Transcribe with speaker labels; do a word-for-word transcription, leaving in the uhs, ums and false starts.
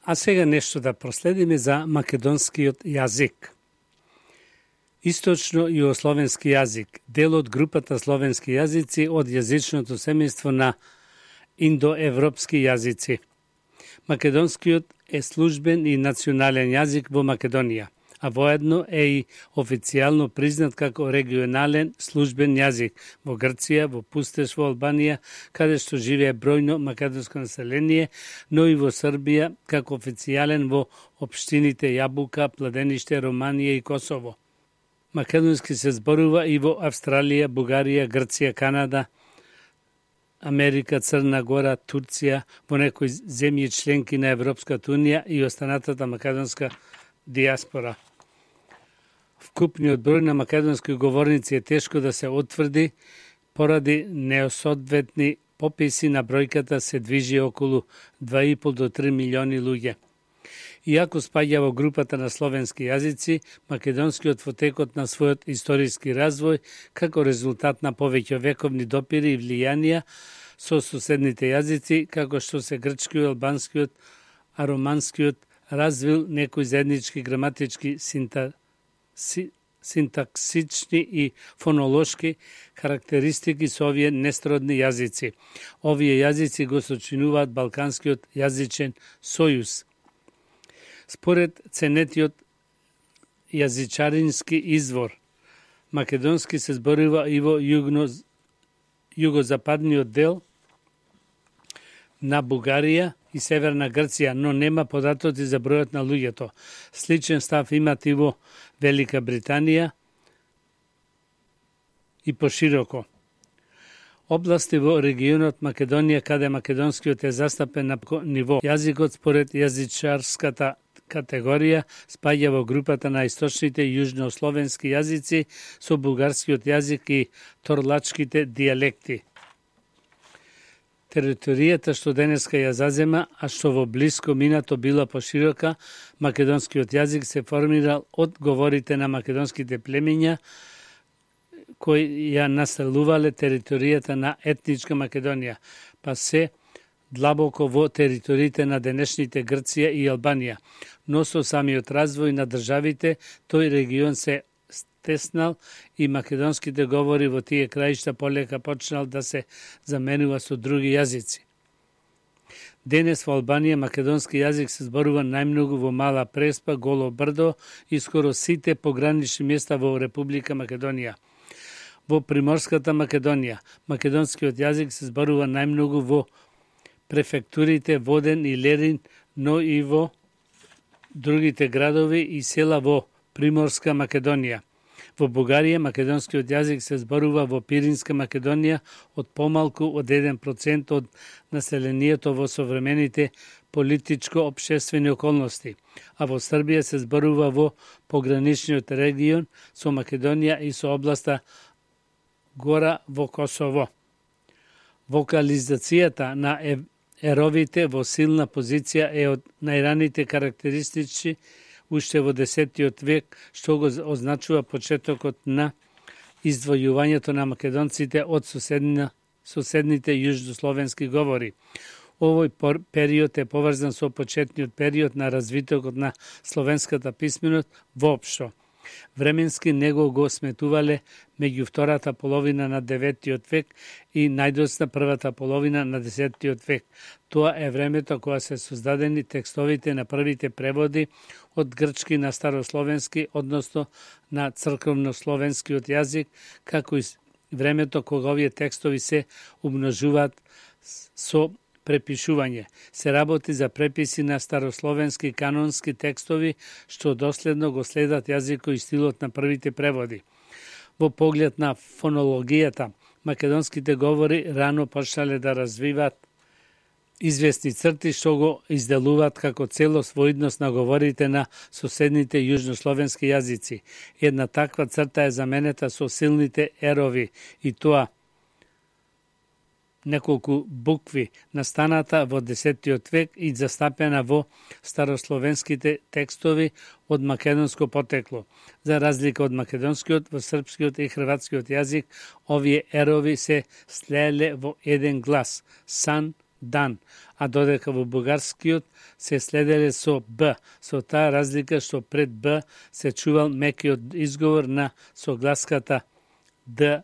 Speaker 1: А сега нешто да проследиме за македонскиот јазик. Источно југословенски јазик, дел од групата словенски јазици од јазичното семејство на индоевропски јазици. Македонскиот е службен и национален јазик во Македонија, а воедно е и официјално признат како регионален службен јазик во Грција, во Пустеш, во Албанија, каде што живее бројно македонско население, но и во Србија како официјален во општините Јабука, Пладениште, Романија и Косово. Македонски се зборува и во Австралија, Бугарија, Грција, Канада, Америка, Црна Гора, Турција, во некои земји членки на Европската унија и останатата македонска диаспора. Вкупниот број на македонски говорници е тешко да се утврди поради неосоодветни пописи, на бројката се движи околу два и пол до три милиони луѓе. Иако спаѓа во групата на словенски јазици, македонскиот во текот на својот историски развој, како резултат на повеќе вековни допири и влијанија со соседните јазици, како што се грчкиот, албанскиот, а романскиот, развил некои заеднички граматички синта, си, синтаксични и фонолошки карактеристики со овие несродни јазици. Овие јазици го сочинуваат Балканскиот јазичен сојуз. Според ценетиот јазичарински извор, македонски се зборува и во југно, југозападниот дел на Бугарија и Северна Грција, но нема податоци за бројот на луѓето. Сличен став имат и во Велика Британија и пошироко. Области во регионот Македонија каде македонскиот е застапен на ниво. Јазикот според јазичарската категорија спаѓа во групата на источните јужнословенски јазици со бугарскиот јазик и торлачките дијалекти. Територијата што денеска ја зазема, а што во блиско минато била поширока, македонскиот јазик се формирал од говорите на македонските племиња кои ја населувале територијата на етничка Македонија, па се длабоко во териториите на денешните Грција и Албанија, но со самиот развој на државите, тој регион се стеснал и македонските говори во тие краишта полека почнал да се заменува со други јазици. Денес во Албанија македонски јазик се зборува најмногу во Мала Преспа, Голо Брдо и скоро сите погранични места во Република Македонија. Во Приморската Македонија македонскиот јазик се зборува најмногу во префектурите Воден и Лерин, но и во другите градови и села во Приморска Македонија. Во Бугарија македонскиот јазик се зборува во Пиринска Македонија од помалку од еден процент од населението во современите политичко-општествени околности, а во Србија се зборува во пограничниот регион со Македонија и со областа Гора во Косово. Вокализацијата на еровите во силна позиција е од најраните карактеристични уште во десетиот век, што го означува почетокот на издвојувањето на македонците од соседна, соседните јужнословенски говори. Овој период е поврзан со почетниот период на развитокот на словенската писменост воопшто. Временски него го сметувале меѓу втората половина на деветиот век и најдосна првата половина на десетиот век. Тоа е времето кога се создадени текстовите на првите преводи од грчки на старословенски, односно на црковнословенскиот јазик, како и времето кога овие текстови се умножуваат со препишување. Се работи за преписи на старословенски канонски текстови, што доследно го следат јазикот и стилот на првите преводи. Во поглед на фонологијата, македонските говори рано почнале да развиваат известни црти што го изделуваат како целост во однос на говорите на соседните јужнословенски јазици. Една таква црта е заменета со силните ерови и тоа неколку букви настаната во десетиот век и застапена во старословенските текстови од македонско потекло. За разлика од македонскиот, во српскиот и хрватскиот јазик, овие ерови се слееле во еден глас – сан, дан, а додека во бугарскиот се следеле со Б, со таа разлика што пред Б се чувал мекиот изговор на согласката Д